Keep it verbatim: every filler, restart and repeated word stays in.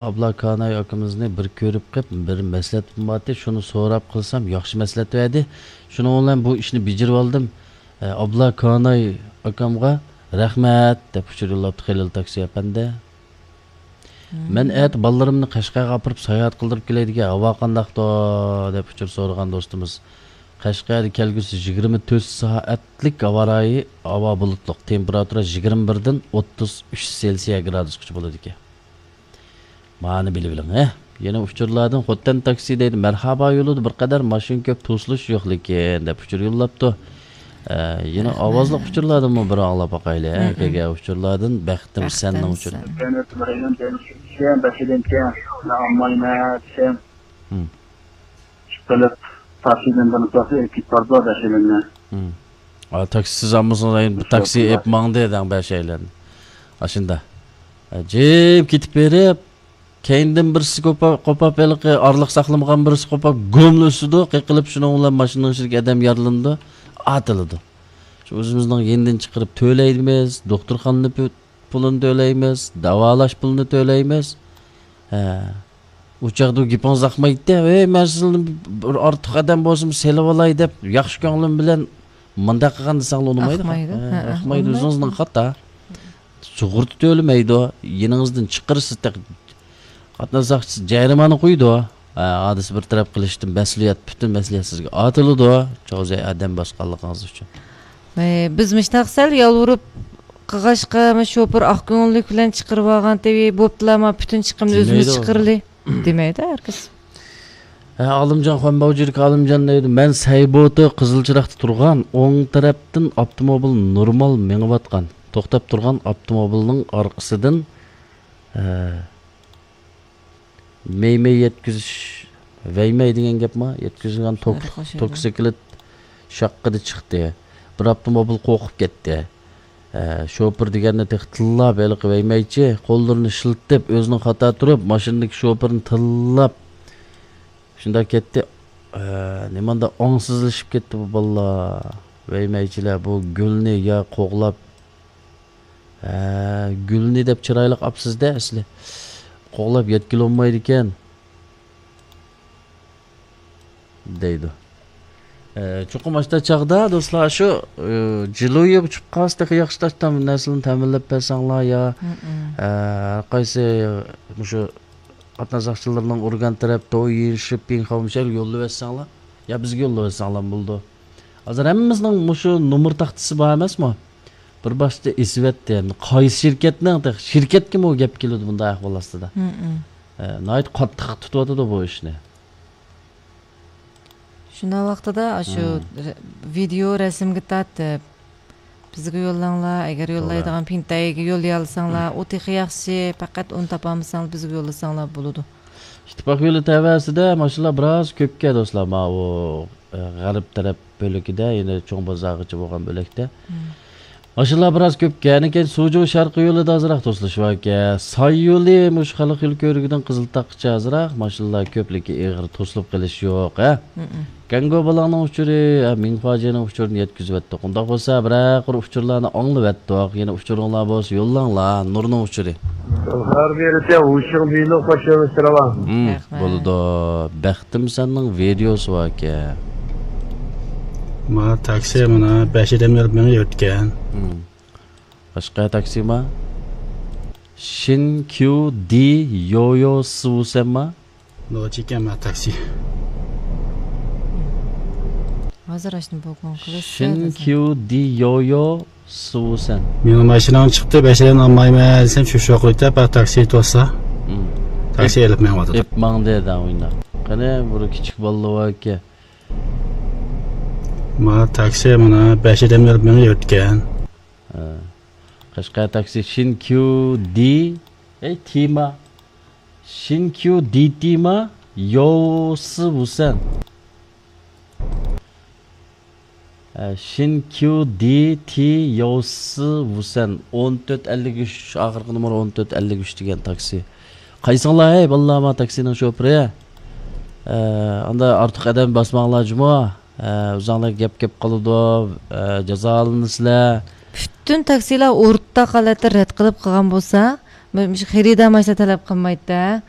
ئابلا كاناي ئاكىمىزنى بىر كۆرۈپ قېلىپ، بىر مەسلىھەت بارتى، شۇنى سوراپ قىلسام، ياخشى مەسلىھەت بەردى. شۇنىڭ بىلەن بۇ ئىشنى بېجىرىۋالدىم. ئە، ئابلا كاناي ئاكامغا رەھمەت، دەپ ئۇچۇر يوللاپتۇ خېلىل تاكسى ئەپەندى. مەن ئەتە بالىلىرىمنى قەشقەرگە ئاپىرىپ ساياھەت قىلدۇرۇپ كېلەي دېگەن، ھاۋا قانداقتۇ؟ دەپ ئۇچۇر سورىغان دوستىمىز. قەشقەردە كەلگۈسى يىگىرمە تۆت سائەتلىك ھاۋا رايى، ھاۋا بۇلۇتلۇق، تېمپېراتۇرا يىگىرمە بىردىن ئوتتۇز ئۈچ سېلسىيە گرادۇسقىچە بولىدىكەن. مانى بىلىۋېلىڭ، ھە. يەنە ئۇچۇرلاردىن خوتەن تاكسى دەيدۇ، مەرھابا يولىدا بىر قەدەر ماشىنا كۆپ، توسۇلۇش يوق لېكىن، دەپ ئۇچۇر يوللاپتۇ. ئە، يەنە ئاۋازلىق ئۇچۇرلاردىنمۇ بىر ئاڭلاپ باقايلى، ھە. كەلگەن ئۇچۇرلاردىن بەختىم سەننىڭ ئۇچۇرى. ھە. ئا، تاكسىسىز ئالمىسىڭىز، ئەينى بىر تاكسى ئېلىپ ماڭدى دەڭ بەشەيلەن. ئاشۇندا. ئە، جىپ كېتىپ بېرىپ، كەينىدىن بىرسى قوپا-، قوپاپ، ھېلىقى ئارىلىق ساقلىمىغان بىرسى قوپاپ، گۇملا ئۆسىدۇ، قېقىلىپ، شۇنىڭ بىلەن ماشىنىنىڭ ئىچىدىكى ئادەم يارىلىنىدۇ، ئاتىلىدۇ. شۇ ئۆزىمىزنىڭ يېنىدىن چىقىرىپ تۆلەيمىز، دوختۇرخانىنى پۇ-، پۇلىنى تۆلەيمىز، داۋالاش پۇلىنى تۆلەيمىز. ھە. ئۇ چاغدا گېپىڭىز ئاقمايتتى. ۋەي، مەن سىزنى بىر ئارتۇق ئادەم بولسىمۇ سېلىۋالاي دەپ، ياخشى كۆڭلۈم بىلەن مۇنداق قىلغان دېسەڭلار ئۇنىمايدۇ. ئاقمايدۇ. ھە، ھە، ئاقمايدۇ. ئۇنىمايدۇ. ئۆزىڭىزنىڭ خاتا. سۇغۇرتا تۆلىمەيدۇ. يېنىڭىزدىن چىقىرىسىز، تېخى قاتناش ساقچىسى جەرىمانە قويىدۇ. ھە، ھادىسە بىر تەرەپ قىلىشتىن مەسئۇلىيەت، پۈتۈن مەسئۇلىيەت سىزگە ئارتىلىدۇ. چاۋزەي ئادەم باسقانلىقىڭىز ئۈچۈن. ئەي، بىز مۇشتاق سەل يالۋۇرۇپ قىلغاچقا، شوپۇر ئاق كۆڭۈللۈك بىلەن چىقىرىۋالغانتى، بوپتۇلا، ما پۈتۈن چىقىمنى ئۆزىمىز دېمەيدۇ. چىقىرىلى. دېمەيدۇ ھەرگىز. ھە، ئالىمجان، خۇەنباۋجىدىكى ئالىمجان دەيدۇ، مەن سەيبوتا قىزىل چىراغدا تۇرغان، ئوڭ تەرەپتىن ئاپتوموبىل نورمال مېڭىۋاتقان. توختاپ تۇرغان ئاپتوموبىلنىڭ ئارقىسىدىن، ھە، مەي-مەي يەتكۈزۈش، ۋەي-مەي دېگەن گەپما؟ يەتكۈزگەن توك-، توكسىكلىت شاققىدە چىقتى. بىر ئاپتوموبىل قورقۇپ كەتتى. ئە، شوپۇر دېگەننى تېخى تىللاپ ھېلىقى ۋەي-مەيچى قوللىرىنى شىلتىپ، ئۆزىنىڭ خاتا تۇرۇپ، ماشىنىدىكى شوپۇرنى تىللاپ، شۇنداق كەتتى. ئە، نېمانداق ئاڭسىزلىشىپ كەتتى بۇ بالىلار. ۋەي-مەيچىلەر بۇ گۈلنى يا قوغلاپ، ھە، گۈلنى دەپ چىرايلىق ئاپسىز-دە ئەسلى. قوغلاپ يەتكىلى بولمايدىكەن، دەيدۇ. ئە، چوقۇم ئاشتا چاغدا، دوستلار، شۇ، ئە، جىلۇيى ئۇچۇپ قالسا تېخى ياخشى، تاشتا نەرسىلەرنى تەمىنلەپ بەرسەڭلار يا، ئە، ھەر قايسى مۇشۇ قاتناش ساقچىلىرىنىڭ ئۇرگان تەرەپ، تويىن، شىپىڭ، خاۋمىشەل يوللىۋەتسەڭلار يا بىزگە يوللىۋەتسەڭلار بولىدۇ. ھازىر ھەممىمىزنىڭ مۇشۇ نومۇر تاختىسى بار ئەمەسمۇ؟ بىر باشتا ئېسىۋەتتى. قايسى شىركەتنىڭ تېخى؟ شىركەتكىمۇ گەپ كېلىدۇ بۇنداق ئەھۋال ئاستىدا. ھە، ناھايىتى قاتتىق تۇتۇۋاتىدۇ بۇ ئىشنى. شۇنداق ۋاقتىدا ئاشۇ ھىم. رە-، ۋىدېئو رەسىمگە تارتىپ، بىزگە يوللاڭلار، ئەگەر توغرا. يوللايدىغان پىنتەيگە يوللىيالىساڭلار، ئۇ تېخى ياخشى، پەقەت ئۇنى تاپالمىساڭلار بىزگە يوللىساڭلار بولىدۇ. ئىتتىپاق يولى تەۋەسىدە ماشىنىلار بىراز كۆپكەن دوستلار، ماۋۇ، ئە، غەرب تەرەپ بۆلىكىدە، يەنە چوڭ بازارغىچە بولغان بۆلەكتە. مم. ماشىنىلار بىراز كۆپكەن، كېيىن سۇجۇ شەرقىي يولىدا ئازراق توسۇلۇش باركەن. ساي يولى مۇشۇ خەلق يولى كۆۋرۈكىدىن قىزىلتاغقىچە ئازراق ماشىنىلار كۆپ، لېكىن ئېغىر توسۇلۇپ قېلىش يوق، ھە؟ مم. گەنگو بالاڭنىڭ ئۇچۇرى، ھە، مىڭفاجيېنىڭ ئۇچۇرىنى يەتكۈزۈۋەتتۇق. ئۇنداق بولسا، بىرەر قۇر ئۇچۇرلارنى ئاڭلىۋەتتۇق. يەنە ئۇچۇرۇڭلار بولسا يوللاڭلار. نۇرنىڭ ئۇچۇرى. ھەر بىرىسى ھۇشياڭ بىلو قوشۇلۇشتۇرۇۋال. ھىم، بولىدۇ. بەختىم سەننىڭ ۋىدېئوسى باركەن. ما تاكسى مانا بەش ئادەم يۈرۈپ مېڭىۋەتكەن. ھىم. باشقا تاكسى ما؟ شىن كيۇ دى يويو سىۋۇسەن ما؟ نوچىكەن ما تاكسى. ھازىر ئاشۇنى بوگۇڭ قىلىش. شىن كيۇ دى يويو سىۋۇسەن. مېنىڭ ماشىنام چىقتى، بەش ئادەم ئالمايمەن دېسەم، شۇ شوقۇيتە، پات تاكسى توسسا. ھىم. تاكسى ئېلىپ مېڭىۋاتىدۇ. ئېپ ماڭدى دەڭ ئۇينا. قېنى، بۇ كىچىك بالىلار باركەن. ما تاكسى مانا بەش ئادەم يۈرۈپ مېڭىۋەتكەن. ھە. قەشقەر تاكسى شىن كيۇ دى، ئەي، تىما. شىن كيۇ دى تىما، يوسى ۋۇسەن. ھە، شىن كيۇ دى تى يوسى ۋۇسەن. ئون تۆت ئەللىك ئۈچ، ئاخىرقى نومۇر ئون تۆت ئەللىك ئۈچ دېگەن تاكسى. قايسىڭلار، ھەي، بالىلار، ما تاكسىنىڭ شوپۇرى؟ ھە، ئاندا ئارتۇق ئادەم باسماڭلار جۇمۇ. ئە، ئۆزۈڭلار گەپ كەپ قالىدۇ، ئە، جازالىنىسىلەر. پۈتۈن تاكسىلار ئورتاق ھالەتتە رەت قىلىپ قىلغان بولسا، مۇشۇ خېرىدار ماشىنا تەلەپ قىلمايتتى.